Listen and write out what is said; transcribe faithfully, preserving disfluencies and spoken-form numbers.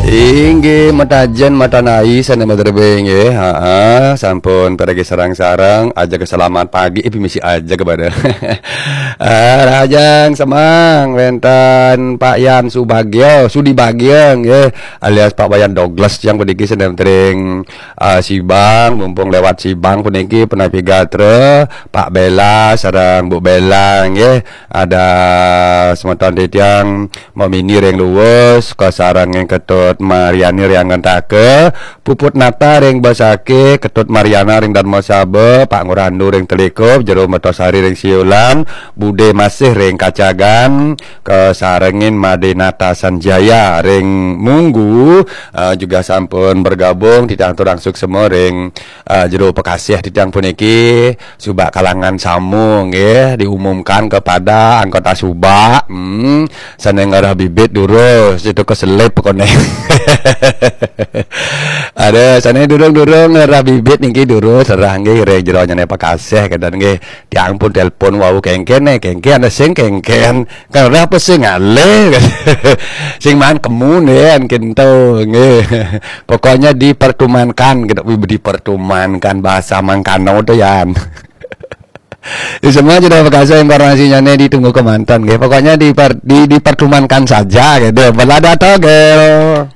Inggih, matajen matanai sané madrebé nggih. Heeh, sampun piragi sareng-sareng, aja selamat pagi, eh, misi aja kepada. Eh, rahajeng semeng wénten Pak Yan Subagio, Sudi Bagio nggih, alias Pak Wayan Douglas yang puniki sané tering, eh, Sibang, mumpung lewat Sibang puniki punapi gatra, Pak Bella sareng Bu Bella nggih. Ada semeton titiang Momini ring Luwus, kasarengin Ketut Mariani ring Anggentaka, Puput Nata ring Besakih, Ketut Mariana ring Darmasaba, Pak Ngurandu ring Telikup, Jero Mertosari ring Siulan, Bude Masih ring Kacagan, kasarengin Made Nata Sanjaya ring Munggu, eh, juga sampun bergabung, titiang aturang suksma ring, eh, Jero Pekasih titiang puniki. Subak kalangan samu nggih, diumumkan kepada anggota Subak, hmm, sané ngarah bibit durus, itu keselip pokoknya. Ada sané durung-durung ngarah bibit niki durus, serah nggih ring jero nyané Pekasih, kadang nggih. Tiang pun telepon wau kéngkén, eh, kéngkén ada sing kéngkén. Kan ora apa sing ngalih. Sing maan kemu nggih, kénto nggih. Pokoknya dipertemukan, kita dipertemukan bahasa mangkano to yan. Di semua sudah bekasa informasinya nih, ditunggu kemantan nggih. Pokoknya diper, di, dipertemukan saja gitu. Belada togel.